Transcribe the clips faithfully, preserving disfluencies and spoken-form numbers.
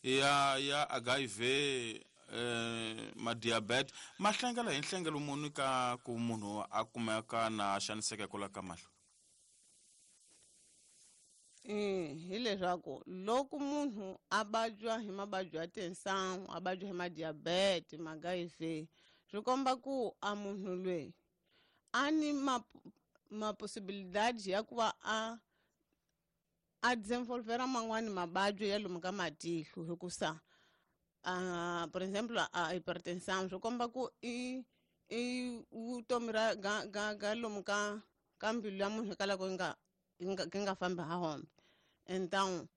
ya ya H I V eh ma diabetes ma hlengela hi nhlengelo muni ka ku munhu a kumeka na xaniseka kwala ka mahlo? Eh hileswaku loko munhu a vabya hi mavabyi ya tinsangu, a vabya hi madiabete, ma H I V, swi komba ku a munhu loyi a ni ma ma possibilidade ya ku va a a desenvolvera man'wani mavabyi ya lomu ka matihlo hikusa a por exemplo a hypertension swi komba ku i i vutomi ra ga ga ga lomu ka ka mbilu ya munhu hikwalaho yi nga yi nga fambi ha hombe. Então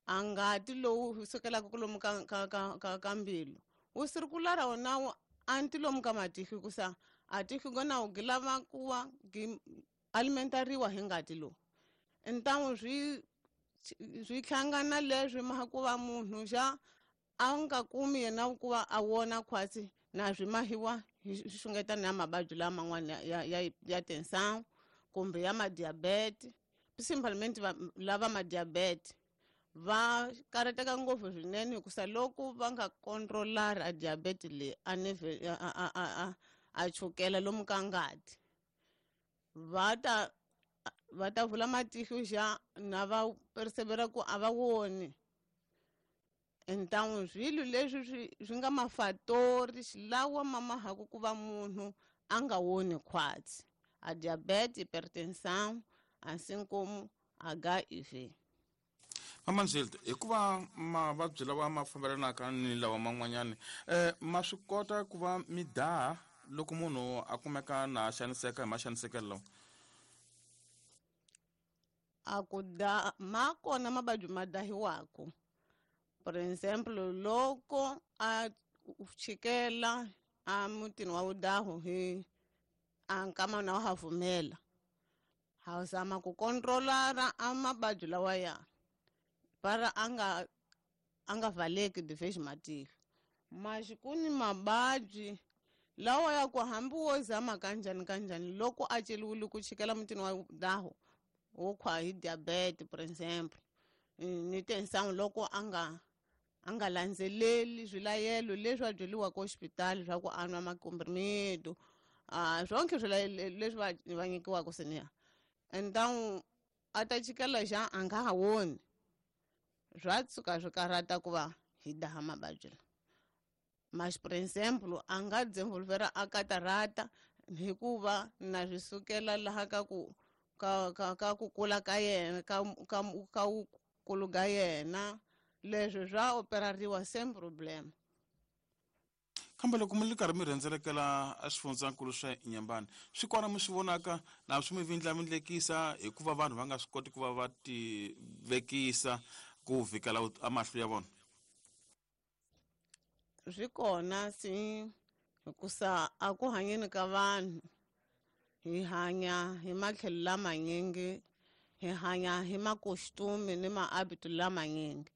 a ngati lowu sukelaka lomu ka ka ka ka ka mbilu wu circulara wona wu anti lomu ka matihlo hikusa a tihlo gona wu lava ku va gi alimentariwa hi ngati lowu. Então swi swi hlangana leswi ma ku va munhu xa a nga kumi yena ku va a vona khwatsi na swi mahiwa hi xungetana ya mavabyi laman'wana ya ya ya tinsangu kumbe ya madiabete. Principalmente lava madiabete va karateka ngopfu swinene hikusa loko va nga controlara a diabete leyi a neve a a a a chukela lomu ka ngati va ta va ta vula matihlo xa na va persevera ku a va voni. Então swilo leswi swi swi nga mafatori lawa ma mahaku ku va munhu a nga woni khwatsi a diabete, hypertension, assim como H I V. Mama Nzilde, hikuva mavabyi lawa ma fambelanaka ni lawa man'wanyani eh ma swi kota ku va mi daha loko munhu a kumeka na xaniseka hi maxanisekelo lawa? A ku da ma kona mavabyi ma dahiwaka. Por exemplo, loko a chikela a mutini wa vudahu hi a nkama na wa ha pfumela ha zama ku controlara a mavabyi lawa ya para a nga a nga valeki de matihlo. Mas ku ni mavabyi lawa ya ku hambi wo zama kanjhani kanjhani loko a celiwile ku chikela mutini wa vudahu wo khwa hi diabete por exemple ni tinsangu loko a nga a nga landzeleli swilayelo leswi a byeriwaka hospitali swa ku a nwa makomprimido a swonke swilayelo leswi va va nyikiwaka seniya. Então a ta chikela xa a nga ha voni swa tshuka swi karhata ku va hi daha mavabyi lawa. Mas por exemplo a nga desenvolvera a katarata hikuva na swi sukela laha ka ku ka ka ka ku kula ka yena ka ka ka wukulu ka yena leswi swa operariwa same problem. Kambe loko mi ri karhi mi rhendzelekela a swifundzankulu swa Inhambane swi kona mi swi vonaka na swi mi vindlavindlekisa hikuva vanhu va nga swi koti ku va va ti vekisa ku vhikela a mahlo ya vona? Swi kona si hikusa a ku hanyeni ka vanhu hi hanya hi matlhelo lamanyingi, hi hanya hi makostume ni mahabito lamanyingi.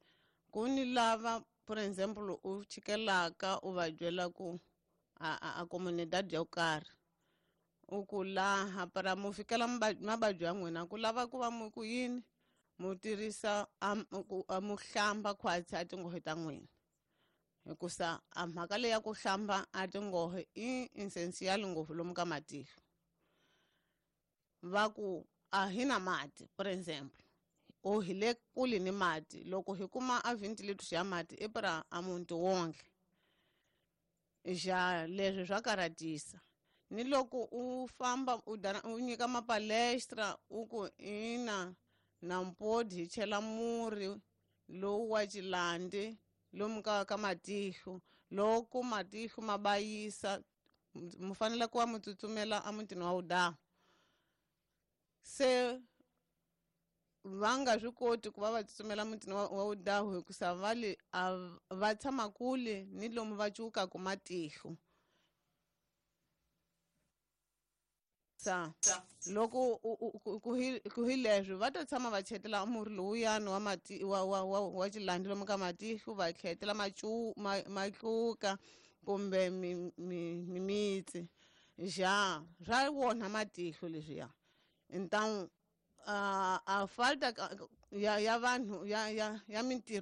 Ku ni lava por exemplo u chikelaka u va byela ku a a, a comunidade yo karhi u ku laha para mu fikela mavabyi ya n'wina ku lava ku va mu ku yini mu tirhisa a mu hlamba khwatsi a tinghohe ta n'wina hikusa a mhaka leyi ya ku hlamba a tinghohe i essential ngopfu lomu ka matihlo. Va ku a hi na mati por exemple o hi le kule ni mati loko hi kuma a twenty liters ya mati i para a muti wonke xa leswi swa karhatisa. Ni loko u famba u dana u nyika mapalestra u ku ina na mpodi hi chela murhi lowu wa xilandi lomu ka ka matihlo loko matihlo ma bayisa mu fanele ku va mu tsutsumela emutini wa vudahu. Se va nga swi koti ku va va tsutsumela mutini wa vudahu hikusa va le a va tshama kule ni lomu va cukaku matihlo. Sa loko ku hi ku hi leswi va ta tshama va chetela murhi lowuyani wa mati wa wa wa wa xilandi lomu ka matihlo va tlhetela macu matluka kumbe mimitsi xa swa wona matihlo leswiya. Então a a falta ya ya vanhu ya ya ya mintirho